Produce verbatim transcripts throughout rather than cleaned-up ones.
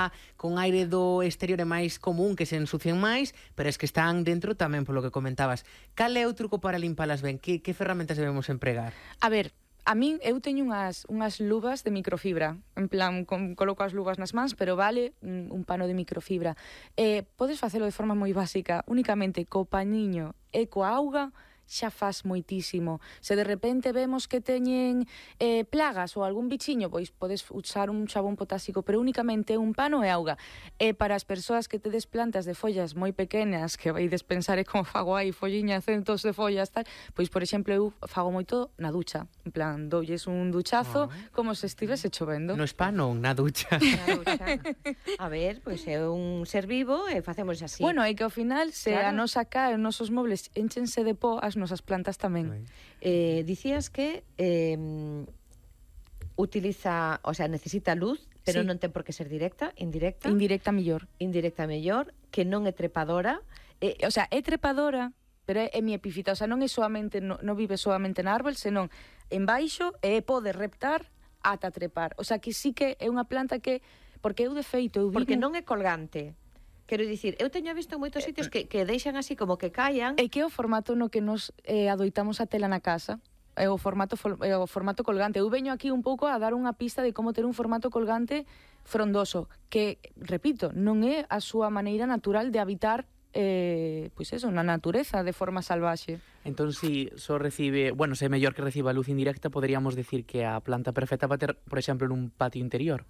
está con aire do exterior é máis común que se ensucien máis, pero es que están dentro tamén polo que comentabas. Cal é o truco para limpalas ben? Que, que ferramentas debemos empregar? A ver, a min, eu teño unhas, unhas luvas de microfibra, en plan, con, coloco as luvas nas mans, pero vale un, un pano de microfibra. Eh, podes facelo de forma moi básica, únicamente co pañiño e coa auga, xa faz moitísimo. Se de repente vemos que teñen eh, plagas ou algún bichiño, pois podes usar un xabón potásico, pero únicamente un pano e auga. E para as persoas que tedes plantas de follas moi pequenas, que vaides pensar é como fago aí, folliña, centos de follas, tal, pois, por exemplo, eu fago moito na ducha. En plan, doulles un duchazo, oh, como se estivese chovendo. No spa non, na ducha. Na ducha. A ver, pois é un ser vivo e facemos así. Bueno, é que ao final, se claro. a nosa ca, os nosos mobles enchense de po, as nosas plantas tamén. Eh, dicías que eh, utiliza, o sea, necesita luz, pero sí. non ten por que ser directa, indirecta. Indirecta mellor. Indirecta mellor, que non é trepadora. Eh, o sea, é trepadora, pero é, é mi epífita, o sea, non é solamente, non no vive solamente na árbol, senón en baixo e pode reptar ata trepar. O sea, que sí que é unha planta que, porque eu de feito, eu vivo... Porque non é colgante. Quero dicir, eu teño visto en moitos sitios que, que deixan así como que caian. É que é o formato no que nos eh, adoitamos a tela na casa. É o formato, é o formato colgante. Eu veño aquí un pouco a dar unha pista de como ter un formato colgante frondoso, que, repito, non é a súa maneira natural de habitar eh, pois eso, na natureza de forma salvaxe. Entón, si só recibe, bueno, se é mellor que reciba luz indirecta, poderíamos decir que a planta perfecta para ter, por exemplo, nun patio interior.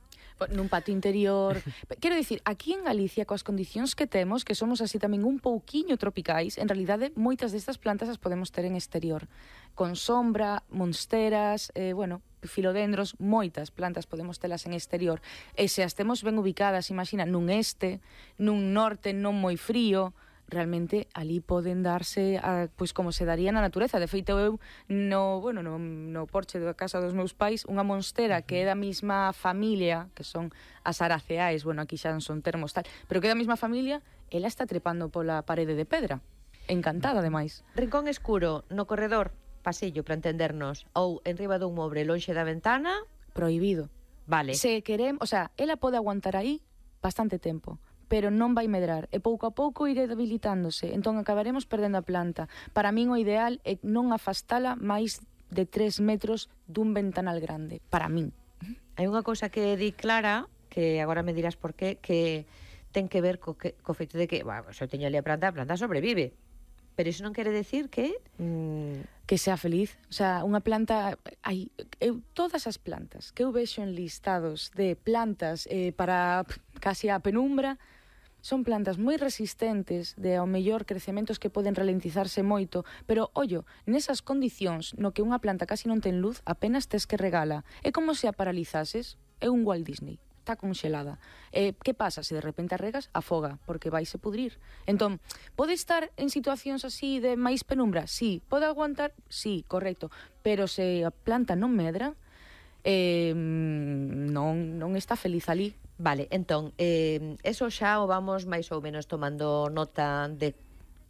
Nun patio interior. Quero dicir, aquí en Galicia, coas condicións que temos, que somos así tamén un pouquiño tropicais, en realidade, moitas destas plantas as podemos ter en exterior. Con sombra, monsteras, eh, bueno, filodendros, moitas plantas podemos telas en exterior. E se as temos ben ubicadas, imagina, nun este, nun norte non moi frío, realmente ali poden darse a, pois como se daría na natureza. De feito, eu no, bueno, no, no porche da casa dos meus pais, unha monstera que é da mesma familia, que son as araceais, bueno, aquí xa non son termos tal, pero que é da mesma familia, ela está trepando pola parede de pedra. Encantada, ademais. Rincón escuro, no corredor, pasillo, para entendernos, ou enriba dun mobre lonxe da ventana, prohibido. Vale. Se queremos, o sea, ela pode aguantar aí bastante tempo, pero non vai medrar, e pouco a pouco iré debilitándose, entón acabaremos perdendo a planta. Para min o ideal é non afastala máis de tres metros dun ventanal grande, para min. Hai unha cousa que di Clara, que agora me dirás por qué, que ten que ver co, que, co feito de que, bueno, se eu teño ali a planta, a planta sobrevive. Pero iso non quere decir que... Mmm... Que sea feliz. O sea, unha planta... Hai, eu, todas as plantas que eu vexo en listados de plantas eh, para casi a penumbra, son plantas moi resistentes, de ao mellor crecementos que poden ralentizarse moito, pero, ollo, nesas condicións no que unha planta casi non ten luz, apenas tes que regala. É como se a paralizases. É un Walt Disney. Está conxelada. Eh, que pasa? Se de repente a regas, afoga, porque vaise pudrir. Entón, pode estar en situacións así de máis penumbra? Sí. Pode aguantar? Sí, correcto. Pero se a planta non medra, eh, non, non está feliz ali. Vale, entón, eh, eso xa o vamos máis ou menos tomando nota de,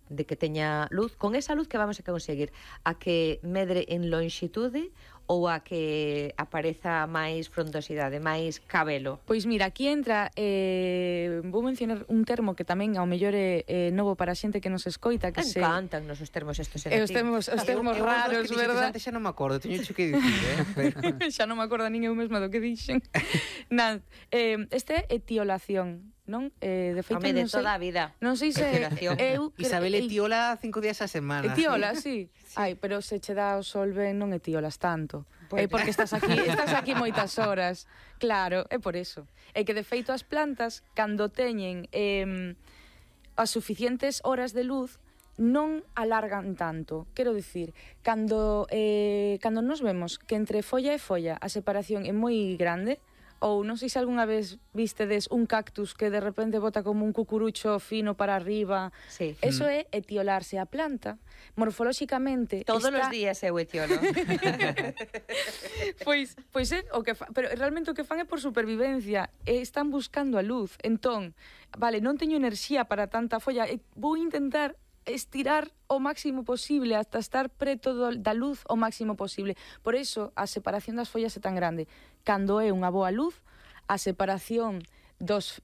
de que teña luz. Con esa luz que vamos a conseguir? A que medre en lonxitude ou a que apareza máis frondosidade, máis cabelo? Pois mira, aquí entra, eh, vou mencionar un termo que tamén ao mellor é eh, novo para a xente que nos escoita, que se... Encantan nos os termos estes eh, os termos, os termos eu, raros, eu, verdad? Antes xa non me acordo, teño que dicir, eh? Pero... xa non me acordo nin eu mesma do que dixen. Nada, eh, este é etiolación, non? Eh, de feito, Home, de non sei, toda a vida. Non sei se eu... Isabel etiola cinco días a semana. Etiola, sí. sí. Ai, pero se che dá o sol ben non etiolas tanto. Pues... É porque estás aquí, estás aquí moitas horas. Claro, é por eso. É que de feito as plantas, cando teñen eh, as suficientes horas de luz, non alargan tanto. Quero dicir, cando, eh, cando nos vemos que entre folla e folla a separación é moi grande, ou non sei se algunha vez vistedes un cactus que de repente bota como un cucurucho fino para arriba. Sí. Eso é etiolarse. A planta, morfolóxicamente... Todos está... os días eu etiolo. pois, pois é o que fa... Pero realmente o que fan é por supervivencia. E están buscando a luz. Entón, vale, non teño enerxía para tanta folla. E vou intentar estirar o máximo posible hasta estar preto do, da luz o máximo posible. Por iso, a separación das follas é tan grande. Cando é unha boa luz, a separación dos, das